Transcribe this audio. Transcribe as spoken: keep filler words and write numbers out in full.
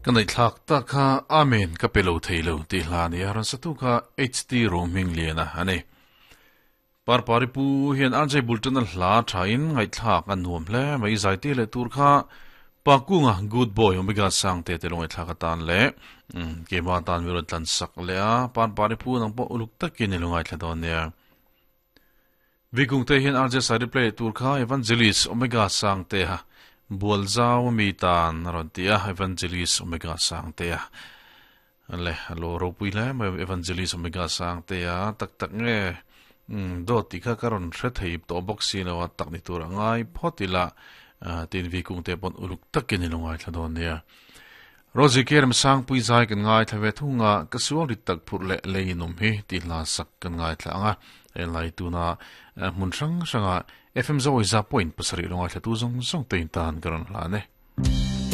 Ka nei thlak ta kha amen ka pelo theilo ti hla ni aran satu kha H T roaming liana ani par pari pu hian R J Bulton a hla thain ngai thlak an nuam hle mai zai te le tur kha pakunga good boy omega sang te te longai thlak atan le ke ma tan mi ron tlan sak le a par pari pu nang po uluk takin ni longai thla don nia. Vikung te hian R J side play tur kha Evangelist Omega sang te ha bual zau mi tan ron tia Evangelist Omega sang te ha le lo ro pui le ma Evangelist Omega sang te a tak tak nge do ti kha karon hre thei to box si lo tak ni tur angai photila tin vi kung te pon uluk takin ni longai thla don nia. Rozi kerem sang pui zai kan ngai thave thunga ka sual ri tak phur le leinum hi ti hla sak kan ngai thla anga e lai tuna mun sang sanga F M zo za point pasari longai thla tu zong zong te tan karon hla ne.